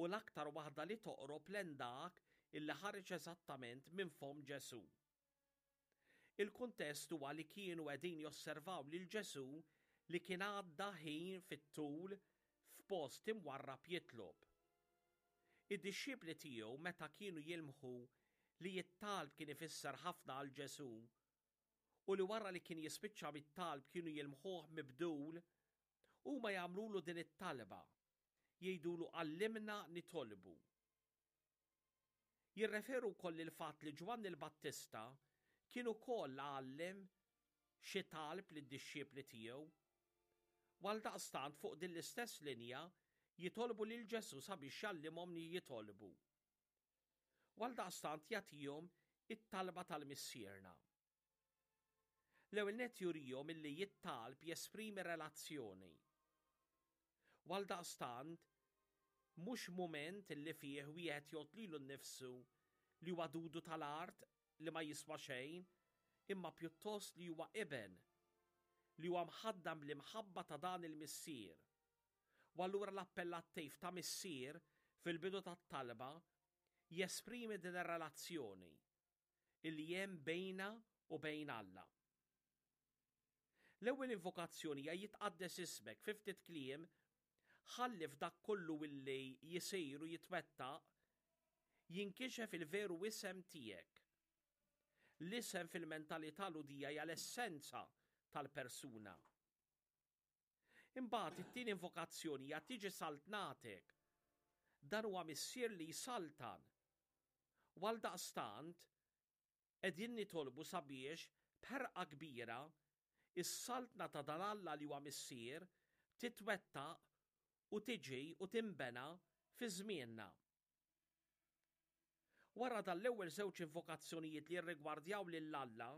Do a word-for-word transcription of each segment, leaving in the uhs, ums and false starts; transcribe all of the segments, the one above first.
u l-aktar waħda li toqrob lejn dak illi ħareġ eżattament minn fomm Ġesù. Il-kuntest huwa li kienu qegħdin josservaw lil Ġesù li kien għadda ħin fit-tul f'post imwarrab jitlob. Id-dixxipli tiegħu, meta kienu jilmħu li t-talb kien ifisser ħafna għal Ġesù u li wara li kien jispiċċa bit-talb kienu jilmħuh mibdul, huma jagħmlulu din it-talba. Jgħidulu: "Għallimna nitolbu." Jirreferu wkoll il-fatt li Ġwanni l-Battista kien ukoll għallem xi talb lid-dixxipli tiegħu. Għaldaqstant, fuq din l-istess linja jitolbu lil Ġesù sabiex jgħallimhom li jitolbu. Għaldaqstant jagħtihom it-talba tal-Missierna. L-ewwel nett jurihom illi t-talb jesprimi relazzjoni. Għaldaqstant mhux mument illi fih wieħed jgħodd lilu nnifsu li huwa dudu tal-art li ma jiswa xejn, imma pjuttost li huwa iben li huwa mħaddam bl-imħabba ta' dan il-Missier. U allura l-appellattiv ta' Missier fil-bidu tat-talba jesprimi din ir-relazzjoni illi hemm bejna u bejn Alla. L-ewwel invokazzjoni hija "Jitqaddes ismek". Fi ftit kliem, ħalli f'dak kollu illi jisir u jitwettaq jinkixef il-veru isem tiegħek. L-isem fil-mentalità Lhudija hija l-essenza tal-persuna. Imbagħad it-tieni invokazzjoni hija "Tiġi saltnatek". Dan huwa Missier li jsaltan. U għaldaqstant qegħdin nitolbu sabiex b'ħerqa kbira is-saltna ta' dan Alla li huwa Missier titwettaq u tiġi u timbena fi żmienna. Wara dan l-ewwel żewġ invokazzjonijiet li jirrigwardjaw lil Alla,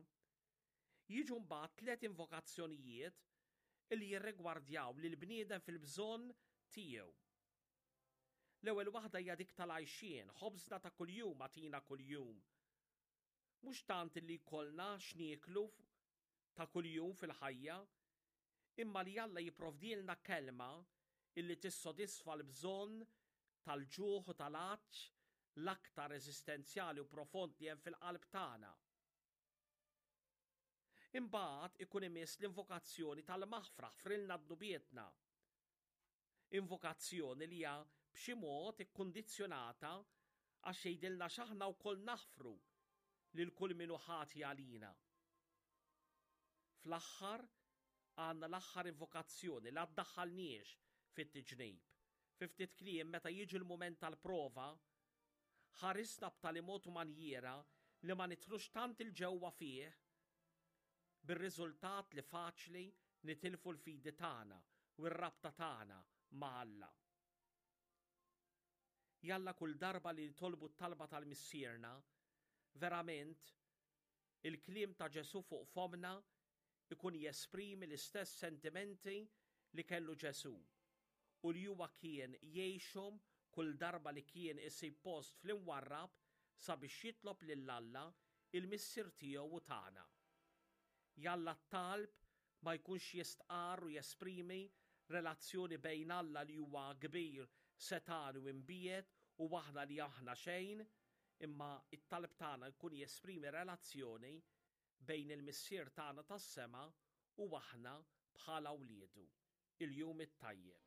jiġu mbagħad tliet invokazzjonijiet li jirrigwardjaw lil bniedem fil-bżonn tiegħu. L-ewwel waħda hija dik tal-għajxien: "Ħobżna ta' kuljum agħtina kuljum." Mhux tant li jkollna x'nieklu ta' kuljum fil-ħajja, imma li Alla jipprovdilna kelma illi tissodisfa l-bżonn tal-ġuħ u tal-għatx l-aktar eżistenzjali u profond li hemm fil-qalb tagħna. Imbagħad ikun imiss l-invokazzjoni tal-maħfra: "Aħfrilna dnubietna." Invokazzjoni li hija b'xi mod ikkundizzjonata, għax jgħidilna x'aħna wkoll naħfru lil kull min hu ħati għalina. Fl-aħħar għandna l-aħħar invokazzjoni: "La ddaħħalniex fit-tiġrib." Fi ftit kliem, meta jiġi l-mument tal-prova, ħarisna b'tali mod u manjiera li ma nidħlux tant 'il ġewwa fih, bir-riżultat li faċli nitilfu l-fidi tagħna u r-rabta tagħna ma' Alla. Jalla kull darba li nitolbu t-talba tal-Missierna, verament il-kliem ta' Ġesù fuq fomna ikun jesprimi l-istess sentimenti li kellu Ġesù u li huwa kien jgħixhom kull darba li kien isib post fl-imwarrab sabiex jitlob lil Alla, il-Missier tiegħu u tagħna. Jalla t-talb ma jkunx jistqar u jesprimi relazzjoni bejn Alla li huwa kbir, setgħan u imbiegħed u aħna li aħna xejn, imma it-talb tagħna jkun jesprimi relazzjoni bejn il-Missier tagħna tas-sema u aħna bħala wliedu. Il-jum it-tajjeb.